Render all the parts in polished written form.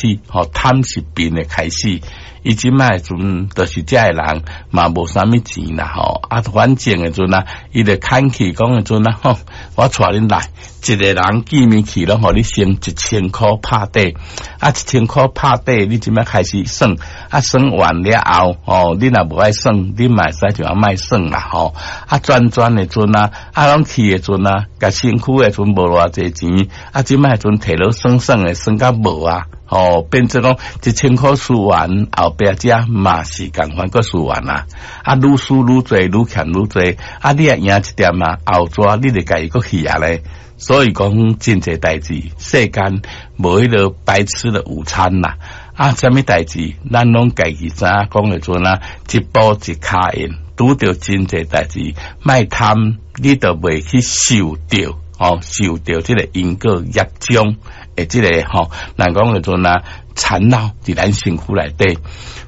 始，吼，貪是病的開始。伊這擺的時陣，就是這个人嘛無啥物錢啦，吼，啊，反正的陣啊，伊就牽去講的陣啊，吼，我帶恁來，一个人見面去攏予你先一千箍拍底，啊，一千箍拍底，你這擺開始算，啊，算完了後，吼，你若無愛算，你嘛會使就按莫算啦，吼，啊，轉轉的陣啊，啊，攏去的陣啊，共身軀的陣無偌濟錢，啊，這擺的陣提落算算的算甲無啊。吼，變做講一千箍輸完，後壁遮嘛是仝款閣輸完啊！啊，愈輸愈濟，愈欠愈濟，啊，你若贏一點啊，後逝你就家己閣去啊咧。所以講真濟代誌，世間無彼个白吃的午餐啦。啊，啥物代誌，咱攏家己知影講的陣啊，一步一跤印，拄著真濟代誌，莫貪，你就袂去受著，吼，受著這个因果業障。的這个吼，人講的陣啊，纏繞佇咱身軀內底，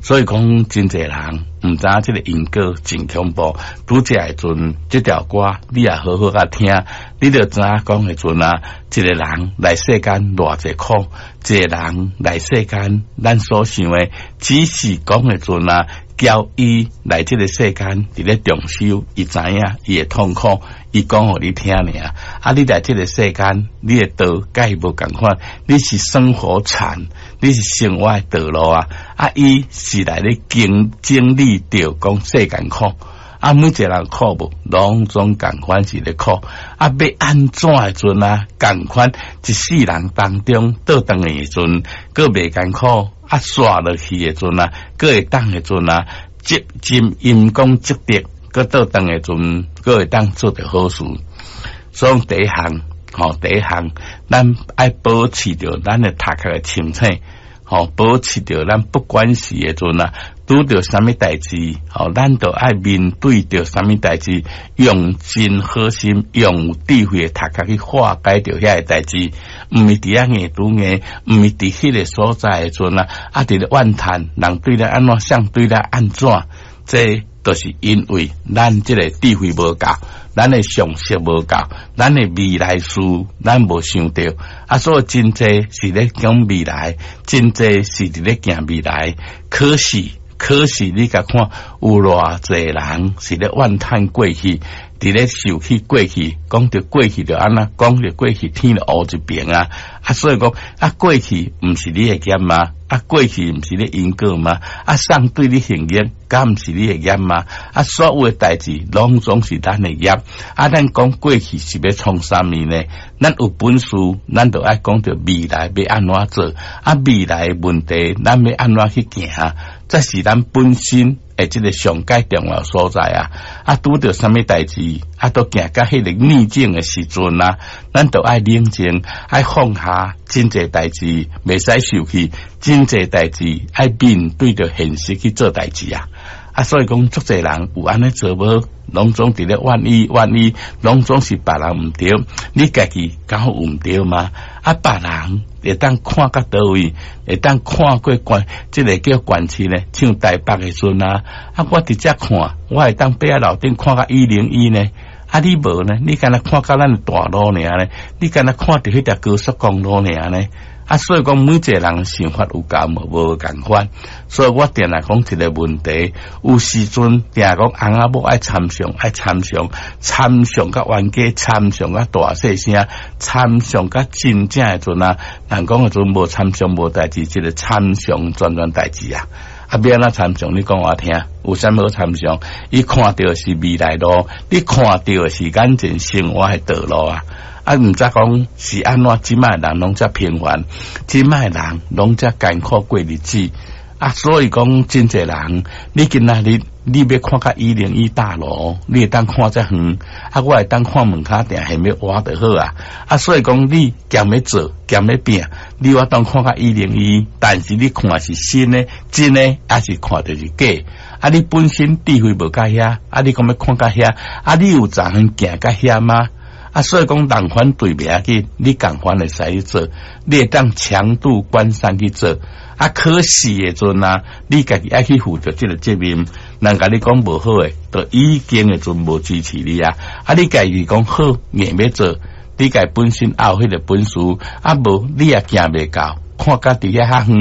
所以講真濟人毋知影這个因果真恐怖。拄則的陣，這條歌你也好好共聽，你就知影講的陣啊，一个人來世間偌濟苦，一个人來世間，咱所想的只是講的陣啊，叫伊來這个世間佇咧重修，伊知影伊的痛苦，伊講予你聽爾。啊，你來這个世間，你的道佮伊無仝款，你是生活禪，你是生活的道路啊。啊，伊是來咧經經歷著講世間苦。啊，每一個人苦無，攏總仝款是咧苦。啊，欲按怎的陣啊，仝款一世人當中倒轉來的陣，閣袂艱苦。啊，煞落去的陣啊，閣會當的陣啊，積真陰功積德，閣倒轉的陣，閣會當做著好事。所以第一項，吼，第一項，咱愛保持著咱的頭殼的清醒，吼，保持著咱不管是的陣啊，拄著啥物代誌，吼，咱都愛面對著啥物代誌，用真好心，用有智慧的頭殼去化解著遐个代誌，毋是佇遐硬拄硬，毋是佇彼个所在的陣啊，啊，佇咧怨嘆，人對咱按怎，相對咱按怎，這就是因為咱這个智慧無夠，咱的常識無夠，咱的未來事咱無想著，啊，所以真濟是咧講未來，真濟是佇咧行未來，可是，可是你共看有偌濟人是咧怨嘆過去，佇咧受氣過去，講著過去就按怎，講著過去天就烏一爿啊！啊，所以講啊，過去毋是你的業嗎？啊，過去毋是你因果嗎？啊，上對你行業，敢毋是你的業嗎？啊，所有的代誌攏總是咱的業。啊，咱講過去是欲創啥物呢？咱有本事，咱就愛講著未來欲按怎做？啊，未來的問題，咱欲按怎去行？這是咱本身的這个上蓋重要所在啊！啊，拄著啥物代誌，啊，都行到彼个逆境的時陣啊，咱就愛冷靜，愛放下真濟代誌，袂使受氣，真濟代誌愛面對著現實去做代誌啊！啊，所以講，足濟人有按呢做無？攏總佇咧怨伊怨伊，攏總是別人毋對，你家己敢有毋對嗎？啊，別人會當看到佗位，會當看過關，這个叫關市呢，像台北的陣啊，啊，我佇遮看，我會當爬樓頂看到101呢，啊，你無呢？你干焦看到咱大路爾呢？你干焦看著彼條高速公路爾呢？啊，所以講每一個人想法有夠無無仝款，所以我定定講一个問題，有時陣定講翁仔某愛參詳，愛參詳，參詳甲冤家，參詳甲大細聲，參詳甲真正的陣啊，人講的陣無參詳無代誌，這个參詳全全代誌啊！啊，欲按怎參詳？你講我聽，有啥物好參詳？伊看著是未來路，你看著的是眼前生活的道路啊！啊，毋知講是按怎，這擺人攏遮平凡，這擺人攏遮艱苦過日子啊！所以講，真濟人，你今仔日你欲看較101大樓，你會當看遮遠，啊，我會當看門跤定還欲挖就好啊！啊，所以講你兼欲做，兼欲拼，你有法當看較101，但是你看是新的、真的，抑是看著是假？啊，你本身智慧無到遐，啊，你講欲看到遐，啊，你有十遠行到遐嗎？啊，所以講人反對袂要緊，你仝款會使去做，你會當強渡關山去做。啊，可是的陣啊，你家己愛去負著這个責任。人共你講無好的，就已經的陣無支持你啊。啊，你家己講好，硬欲做，你家本身也有彼个本事，啊無你也行袂到，看甲佇遐較遠。